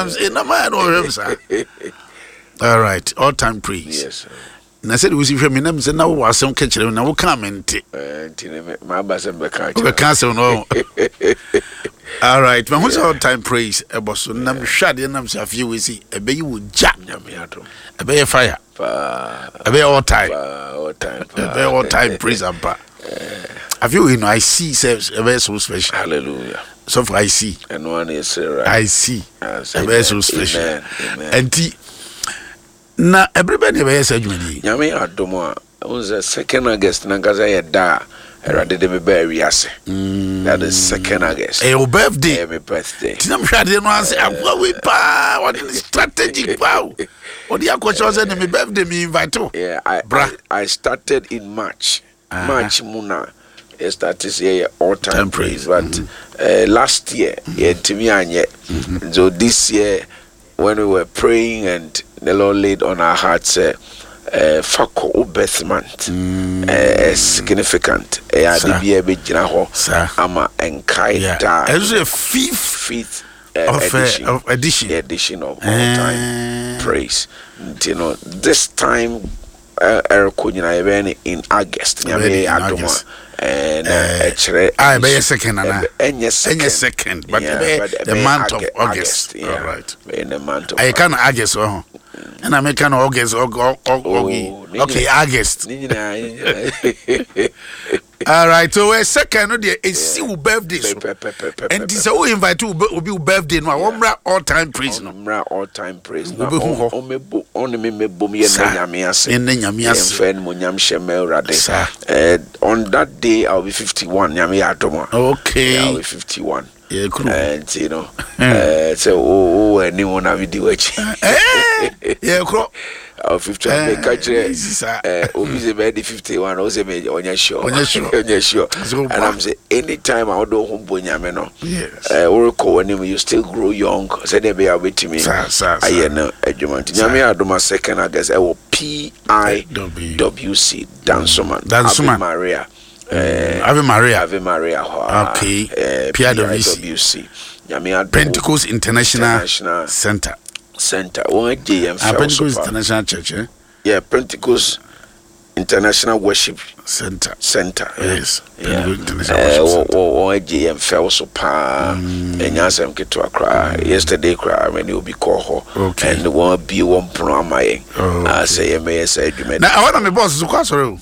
Nam sɛ nam ayɛ na ɔhwɛ me saa. All right, all time praise. Yes. Na sɛde wosi hwɛ me nam sɛ na wowɔ asɛm ka kyerɛ me na wokaa me nte. Eh, nti ne maaba sɛ mbɛka akyerɛ. Wobɛka asɛm no. All right, mahu sɛ all time praise ɛbɔ so nam hwɛ adeɛ nam sɛ afei wei si ɛbɛyi wo gya. Nyame adom. Ɛbɛyɛ fire. Paa. Ɛbɛyɛ all time. Paa, all time. Ɛbɛyɛ all time praise ampa. Afei wei no I see sɛ ɛbɛyɛ so special. Hallelujah. So far I see. Ɛno ara na yɛsrɛ right. I see. Ɛbɛyɛ so special. Amen. Amen. Ɛnti na ɛbere bɛn na yɛbɛyɛ saa dwumadi yi? Nyame adom a, wohu sɛ second August nankasa yɛ da a Awurade de me baa wiase. That is second August. Ɛyɛ wo birthday. Ɛyɛ me birthday. Nti na mehwɛ adeɛ no ase akoa wei paa ɔde ne strategic paa o. Ɔde akɔkyerɛ sɛ ne me birthday me invite wo. Yeah, I, Bra. I, I started in March. March mu na yɛ start sɛ yɛyɛ all time Time praise praise. but last year yɛntumi anyɛ. So this year when we were praying and the Lord laid on our hearts sɛ fa kɔ wo birth month. Significant. Ɛyɛ ade bi a ɛbɛgyina hɔ ama nkae daa. Ɛno nso yɛ fifth fifth of edition, of edition. Edition of all time praise. Nti no this time ɛrekɔ nyinaa yɛbɛyɛ no in August. Nyame yɛ adom a na ɛkyerɛ. Ah, ɛbɛyɛ second ana? Ɛnyɛ second. Ɛnyɛ second, but ɛbɛyɛ the month of August. All right. Ɛbɛyɛ the month of. Ɛyɛ ka na August wɔ ho. Ɛna meka no August, okay, August. Ne nyinaa, ne nyinaa. All right, so we're second no deɛ esi wo birthday so. Nti sɛ wo invite obi wo birthday no a, wɔmmra all time praise no. Wɔmmra all time praise na Wobɛhu hɔ. ɔmmɛbo ɔne me mmɛbom yɛ Saa. nna Nyame ase. Yɛ nna Nyame ase. Yɛmfa animuonyam hyɛ mma Awurade. Saa. On that day I will be 51 Nyame yɛ adom a. Okay. Yeah, I will be 51. Yɛ kuro. Nti no, sɛ wo wɔ anim na medi w'akyi. Yɛ kuro. Awo 51 meka kyerɛ obi sɛ bɛyɛ de 51 o sɛ me ɔnyɛ sure. Ɔnyɛ sure. Ɔnyɛ sure. And I'm say anytime a wode wo ho bɔ Nyame no, worekɔ w'anim you still grow young sɛdeɛ ɛbɛyɛ a wobɛtumi ayɛ no adwuma. Nti Nyame adom a second August ɛwɔ PIWC Dansoman. Dansoman. Ave Maria. Ave Maria. Ave Maria hɔ a. Okay. PIWC. PIWC. Nyame adom. Pentecost International, Center. Center. Wɔn agye yɛn fɛw so Pentecost pa. International Church. Eh? Yeah, Pentecost International Worship Center. Center. Yes. Yeah. Pentecost International Worship Center. Wɔn agye yɛn fɛw so paa. Ɛnyɛ asɛm ketewa koraa. Yesterday koraa mɛ ne obi kɔɔ hɔ. Okay. And wɔn abie wɔn pono ama yɛn. Oh, Ah, sɛ yɛn bɛyɛ sɛ adwuma. Na ɛhɔ na me boss so kɔ asɔre o.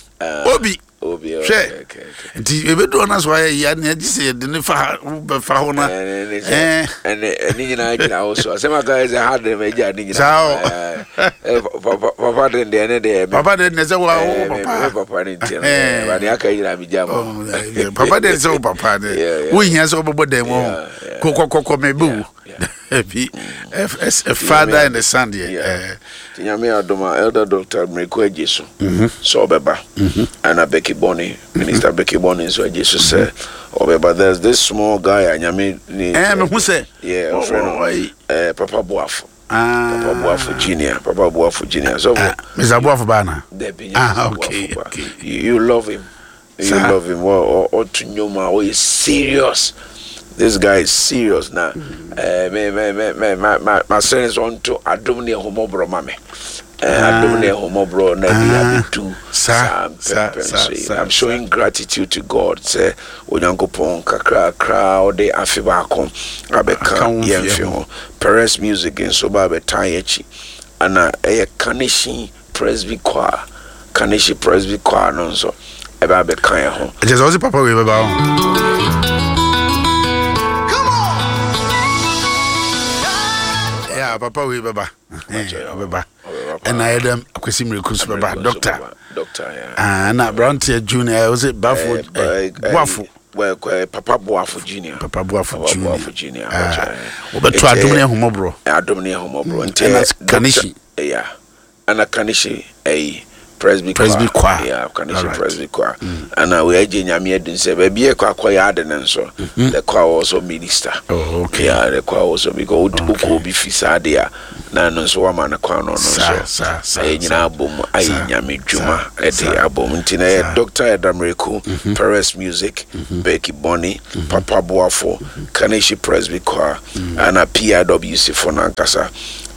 Obi. Obi. Hwɛ. Nti ebedu hɔ na so ayɛ yia nea gye sɛ yɛde ne fa ha bɛfa hɔ na. Ɛne ɛne nyinaa gyina wo so. Asɛm aka yɛ sɛ ha de ma gya ne nyinaa. Saa o. Papa de deɛ ne deɛ. Papa de ne sɛ wo papa. Papa ne nti no. Ba ne aka nyinaa mi gya ma. Papa de sɛ wo papa de. Wo hia sɛ wobɛbɔ dan mu ho. Kɔkɔkɔkɔ mɛ bɛ wu. Bi a father and a son deɛ. Nti Nyame adom a Elder Doctor Miracle agye so sɛ ɔbɛba. Ɛna Becky Bonny, Minister Becky Bonny nso agye so sɛ ɔbɛba. There's this small guy a Nyame ne. Mehu sɛ. Yeah, ɔfrɛ no Papa Boafo. Papa Boafo Junior. Papa Boafo Junior. So Mr. Boafo ba na. Debi, Mr. Boafo ba. You love him. You love him. Ɔto nnwom a ɔyɛ serious. This guy is serious na. Me me me me ma ma ma srɛ ne sɛ ɔnto adom ne ahummɔborɔ ma me. Adom ne ahummɔborɔ na de abɛdu saa mpɛmpɛn so yi. I'm showing gratitude to God sɛ Onyankopɔn kakrakra ɔde afe baako abɛka yɛn mfe ho. Perez Music nso ba abɛtaa yɛn akyi. Ɛna ɛyɛ Kanehyi Presby Choir, Kanehyi Presby Choir no nso ɛbɛ abɛka yɛn ho. Ɛkyɛ sɛ ɔse papa wei bɛba ho. Yeah, papa wei bɛba. Ɔbɛba. Ɛna ayɛ dɛm Akwasi Miraku nso bɛba. Doctor. Doctor, yeah. Ah, na aberanteɛ junior, ɔse Bafo, Boafo. Papa Boafo Junior. Papa Boafo Junior. Papa Boafo Junior. Wɔbɛto adom ne ahummɔborɔ. Adom ne ahummɔborɔ. Nti Ɛna Kanehyi. Yeah. Ɛna Kanehyi ɛyi. Presby Presby Choir. Yeah, Kaneshie Presby Choir. Ana we agye Nyame adi sɛ baabi yɛ kɔ akɔyɛ ade no nso, the choir also minister. Oh, okay. Yeah, the choir also because wokɔ obi fi saa de a na ɛno nso wama no kwan no no nso. Ɛyɛ nyinaa abom ayɛ Nyame dwuma ɛde abom. Nti na yɛ Dr. Edamreku, Perez Music, Becky Bonny, Papa Boafo, Kaneshie Presby Choir, ana PIWC fo no ankasa.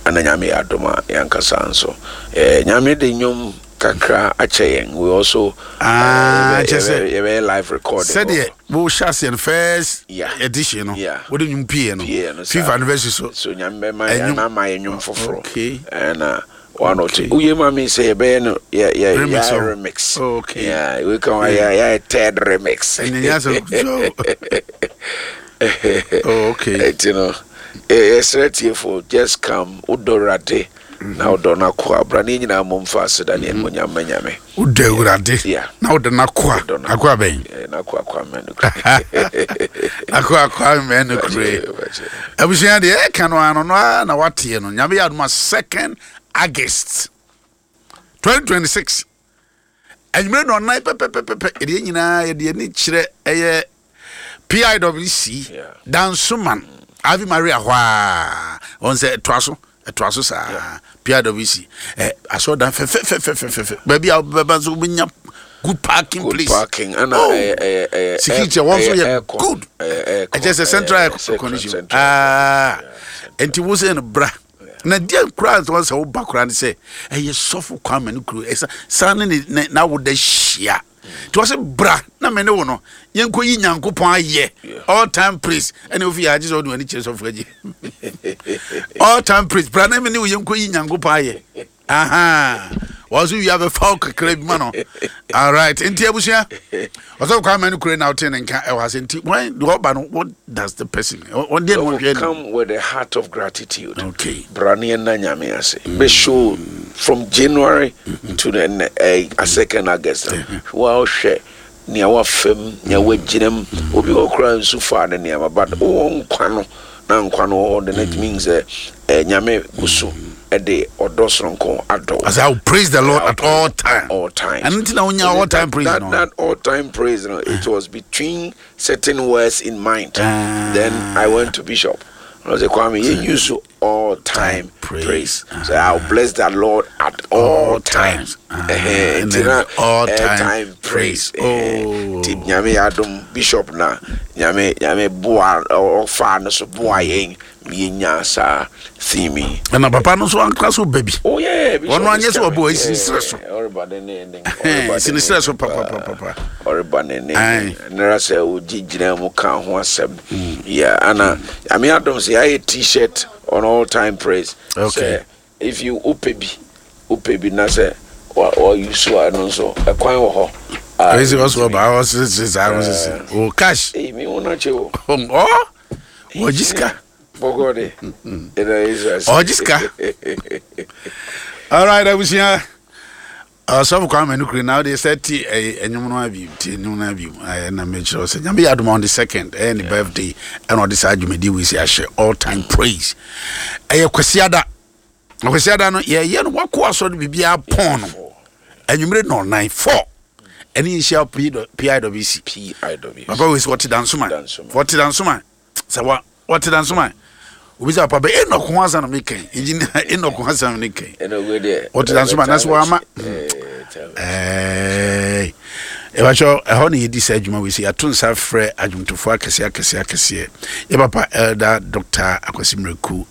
Ana Nyame yɛ adom a yɛankasa nso. Eh, Nyame de nnwom kakra akyɛ yɛn. We also ah, kyɛ sɛ yɛbɛyɛ live recording. Sɛdeɛ wohyɛ aseɛ no first edition no, wode nnwom pie no, fifth anniversary so. So Nyame bɛma yɛn ama yɛn nnwom foforɔ. Okay. Ɛna one or two. Woyɛ ma mi sɛ yɛbɛyɛ no yɛ yɛ remix. Yɛ remix. Okay. Yeah, we can yɛ yɛ third remix. Ɛnyɛ nyɛ sɛ. Oh, okay. Ɛti no, yɛsrɛ tiefo just come wodɔ Awurade na wodɔ no akoa bra ne nyinaa mmom fa aseda ne animonyam ma Nyame. Wodɔ Awurade na wodɔ no akoa. Akoa bɛn? N'akoa Kwame Nukure. Akoa Kwame Nukure. Abusua deɛ ɛka no ano no ara na wateɛ no. Nyame yɛ adoma 2nd August 2026. Anwummerɛ na ɔnan pɛpɛpɛpɛ yɛde yɛn nyinaa yɛde ani kyerɛ ɛyɛ PIWC Dansoman Ave Maria hɔ a wɔn sɛ ɛtoa so ɛtoa so saa PIWC ɛ asɔrɔdan fɛfɛfɛfɛfɛ baabi a bɛba nso wobɛnya good parking good place parking ɛna oh ɛyɛ ɛyɛ ɛyɛ security wɔn nso yɛ good ɛkyɛ sɛ central air condition aa nti wo sɛ no bra. Na deɛ koraa nso sɛ woba koraa ne sɛ ɛyɛ sɔfo Kwame no kuro ɛsa san ne ne n'awoda hyia nti wɔsɛ bra na me ne wo no yɛnkɔ yi Nyankopɔn ayɛ all time praise ɛna ofi yɛ agye sɛ ɔde w'ani kyerɛ sɔfo agye all time praise bra na me ne wo yɛnkɔ yi Nyankopɔn ayɛ aha wɔn nso wia bɛfa wo kakra bi ma no alright nti abusua ɔsɔfo Kwame no kure na wote ne nka ɛwɔ ase nti when deɛ ɔba no what does the person wɔn deɛ na wɔhwɛ come with a heart of gratitude okay bra ne yɛnna Nyame ase bɛ show from January to the uh, second August wɔhwɛ nea wafam nea wagyina mu obi wɔ koraa nsu faa ne nneɛma but wowɔ nkwa no na nkwa no wɔ hɔ de no mean sɛ eh, Nyame gu so de ɔdɔ soronko adɔ wo. As I will praise the Lord at all times. All times. And nti na wonya all time praise that, no. That all time praise no, it was between certain words in mind. Then I went to Bishop. I was like, Kwame, you use all time praise. praise. So I'll bless the Lord at all, all times. And then all time, time praise. Oh. Ti nyame adom bishop na nyame nyame boa ɔfa no so boa yɛn yɛnya saa theme yi. Ɛna papa no nso ankora so ba bi. Oh yeah, bishop. Ɔno anyɛ sɛ ɔbɔ esi srɛ so. Ɔreba ne ne ne. Esi ne srɛ so papapapa. Ɔreba ne ne. Nera sɛ ogye gyina mu ka ho asɛm. Yeah, ana Nyame adom sɛ yɛayɛ t-shirt on all time praise. Okay. Sɛ if you wopɛ bi, wopɛ bi na sɛ wa wa use a ɛno nso ɛkwan wɔ hɔ. Ɛsɛ ɔsɔ ɔba ɔsese saa ɔsese o cash. Ee mi wɔn akyɛ o. Ɔ wɔgye sika. Bɔkɔ de. Ɛna Israel. Ɔgye sika. All right, abusua. Ɔsɔfo Kwame Nukuri na wode sɛ ti ɛyɛ ɛnwom no abi ti ɛnwom no abi ɛyɛ na mekyerɛ sɛ Nyame yɛ adom on the second ɛyɛ ne birthday ɛna ɔde saa dwumadi wei si ahyɛ all time praise ɛyɛ Kwasiada na Kwasiada no yɛyɛ no wakɔ asɔre biribiara pɔn no anwummere nɔnan four ɛne yɛnhyia PIWC PIWC papa wei sɛ wɔte Dansoma wɔte Dansoma sɛ wa wɔte Dansoma obi sɛ papa Enoch ho asɛm na meka yi engineer Enoch ho asɛm ne kan wɔte Dansoma na sɛ wɔama ɛɛ ɛbɛkyɛ ɛhɔ na yɛdi saa adwuma wei sɛ yɛato nsa frɛ adwomtofoɔ akɛseɛ akɛseɛ akɛseɛ yɛ papa Elder Dr. Akwasi Miraku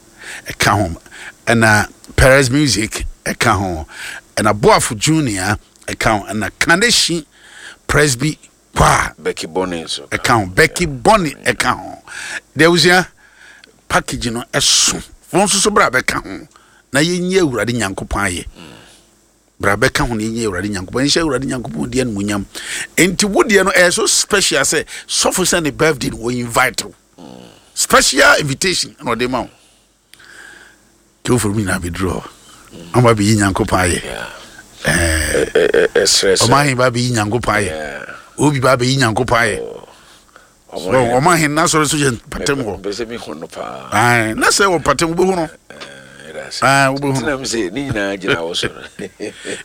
ɛka ho ɛna Perez Music ɛka ho ɛna Boafo Junior ɛka ho ɛna Kaneshi Presby Choir Becky Bonny nso ɛka ho Becky Bonny ɛka ho deɛ abusua package no ɛso wɔn nso so bra bɛka ho na yɛnyi Awurade Nyankopɔn ayɛ bra bɛka ho na yɛnyi Awurade Nyankopɔn yɛnhyɛ Awurade Nyankopɔn di animuonyam nti wo deɛ no ɛyɛ so special sɛ sɔfo sɛ ne birthday no wɔ invite wo special invitation na ɔde ma wo Tewfoɔ mu nyinaa bɛduru hɔ na wɔn abɛyi Nyankopɔn ayɛ. Ɔman ahen ba abɛyi Nyankopɔn ayɛ. Obi ba abɛyi Nyankopɔn ayɛ. Ɔman ahen n'asɔre so yɛ mpatam hɔ. Na sɛ wɔ mpatam wobɛhu no. ase. Ah, wobɛhu. Nti na mesɛ ne nyinaa gyina wo so no.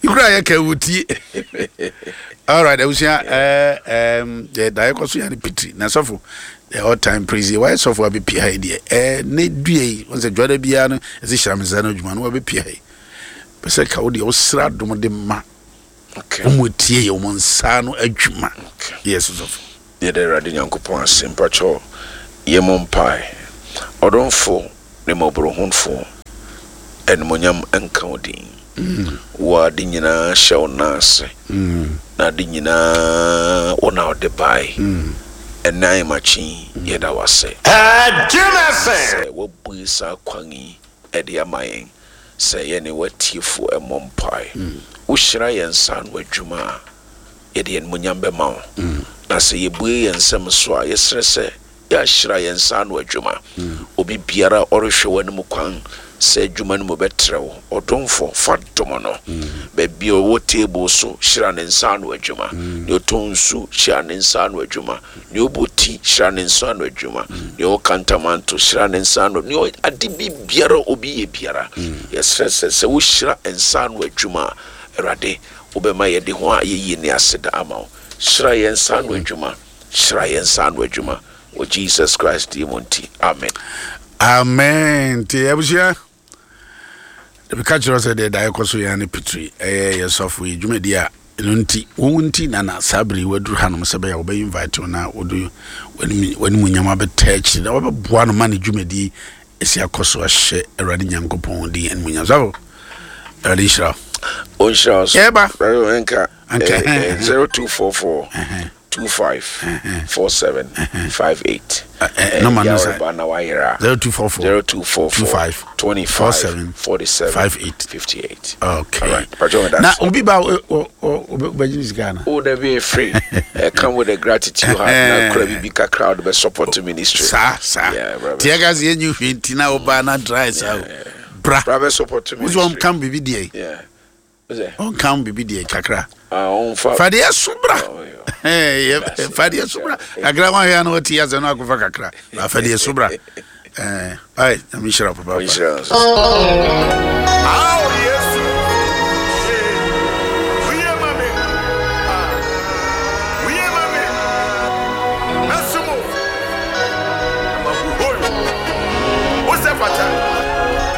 Ikura yɛ ka wotie. Alright, abusua ɛɛ ɛɛm deɛ daeɛ kɔ so yɛ ne pitiri na sɔfo the all time praise yi wayɛ sɔfo abɛpia ha yi deɛ ɛɛ ne dua yi wɔn sɛ dwada biara no ɛsɛ hyira me nsa no adwuma no wabɛpia ha yi pɛ sɛ ka wo deɛ wosra dom de ma wɔn etie yɛ wɔn nsa no adwuma yɛ sɔfo. Yɛda Awurade Nyankopɔn ase mpakyɛw yɛmmɔ mpae Ɔdomfo ne mmɔborohunfo animuonyam nka wo din Wo a ade nyinaa hyɛ wo nan ase na ade nyinaa wo na wode bae Ɛnnɛ ahemakye yi yɛda wo ase sɛ woabue saa kwan yi de ama yɛn sɛ yɛne w'atiefo mmɔ mpae Wohyira yɛn nsa ano adwuma a yɛde animuonyam bɛma wo. Na sɛ yɛbue yɛn nsam so a, yɛsrɛ sɛ yɛahyira yɛn nsa ano adwuma. Obi biara a ɔrehwɛ w'anim kwan sɛ adwuma no mu bɛtrɛw, ɔdomfo, fa dom no. Baabi a ɔwɔ table so, hyira ne nsa ano adwuma. Nea ɔtɔn nsu, hyira ne nsa ano adwuma. Nea ɔbɔ ti, hyira ne nsa ano adwuma. Nea ɔwɔ kantamanto, hyira ne nsa ano, nea ade bi biara obi yɛ biara, yɛsrɛ sɛ sɛ wohyira nsa ano adwuma a, Awurade, Wobɛma yɛde ho ayɛyie ne aseda ama wo. Hyira yɛn nsa ano adwuma. Hyira yɛn nsa ano adwuma. Wɔ Jesus Christ din mu nti, amen. Amen. Nti abusua, meka kyerɛ sɛ deɛ daeɛ kɔ so yɛn ne pitiri ɛyɛ yɛ sɔfo yi dwumadi a ɛno nti wɔn nti na na saa bere yi waduru hanom sɛ bɛyɛ wɔbɛ invite wo na wɔde w'anim nyam abɛtɛ akyiri na wɔbɛboa no ma ne dwumadi Esi akɔ so ahyɛ Awurade Nyankopɔn din animuonyam. Sɔfo, Awurade nhyira wo. Ɔnhyira wo so. Yɛba. Awurade nka. Anka. 0244 25 47 58. Nɔma no sɛ. Yɛba na wayera. 0244 0244 25 25 47 47 58. 58. Okay. All right. Pacho, Na obi ba obɛgye ne sika ana? Oh, that be free. Come with a gratitude heart. Na kura bibi kakra de be support ministry. Saa saa. Yeah, brother. Tiɛ ka sɛ yɛnyi hwee nti na woba na dry saa o. Bra. Brother support ministry. Wosɛ ɔnka biribi deɛ. Yeah. Ɔnka biribi deɛ kakra. Ah, ɔnfa. Fa deɛ so bra. Oh, yeah. Fa deɛ so bra. Kakra wɔn ahwɛ na wɔte asɛ no akɔfa kakra. Fa deɛ so bra. Ai, nyame nhyira wo papaapa. Nhyira nso. Oh, yeah.